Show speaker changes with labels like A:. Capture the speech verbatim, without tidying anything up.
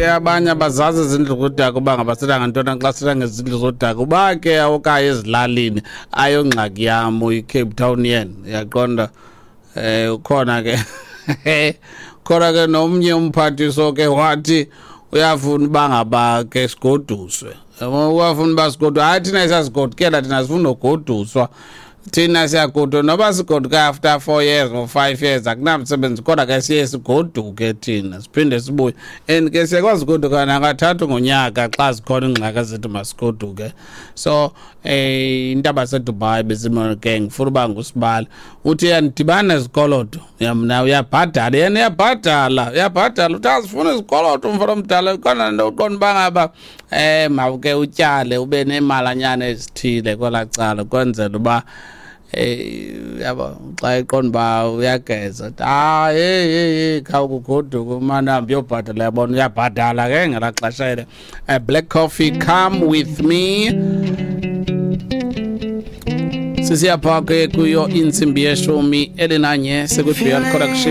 A: Abanye abazazi izindlu zodaka uba ngabasela ngantoni xa sithetha ngezindlu zodaka, uba ke okanye ezilalini ayongxaki yam, uyi-Cape Townian, uyaqonda. um ukhona ke khona ke nomnye umphathiso ke wathi uyafuna uba ngaba ke sigoduswe, uyafuna uba sigoduswe. Hayi, thina siyasigodukela, thina sifuna ugoduswa, thina siyagoduka noba sigoduka after four years or five years, akunamsebenzi, kodwa ke siye sigoduke thina siphinde sibuye. And ke siyakwazi ugoduka nakathathu ngonyaka xa zikhona iingxaki ezithi masigoduke. So eh intaba seDubai bezimo ke ngifuna uba ngusibali uthi uyandidibana nezikoloto, mna uyabhadala, yena uyabhadala, uyabhadala, uthi azifuna izikoloto umfana omdala. Khona nto uqonda uba ngaba um mawuke utyale ube neemalanyana ezithile kwelaa cala ukwenzela uba eh yabo xa eqonda uba uyageza, hayi, hey hey hey, khawukugoduka umane uhambe uyobhatala, yabona, uyabhadala ke ngelaa xesha ele. Black Coffee, "Come With Me". Sisiya phaa ke kuyo intsimbi yeshumi elinanye, sekwi-Beyond Production.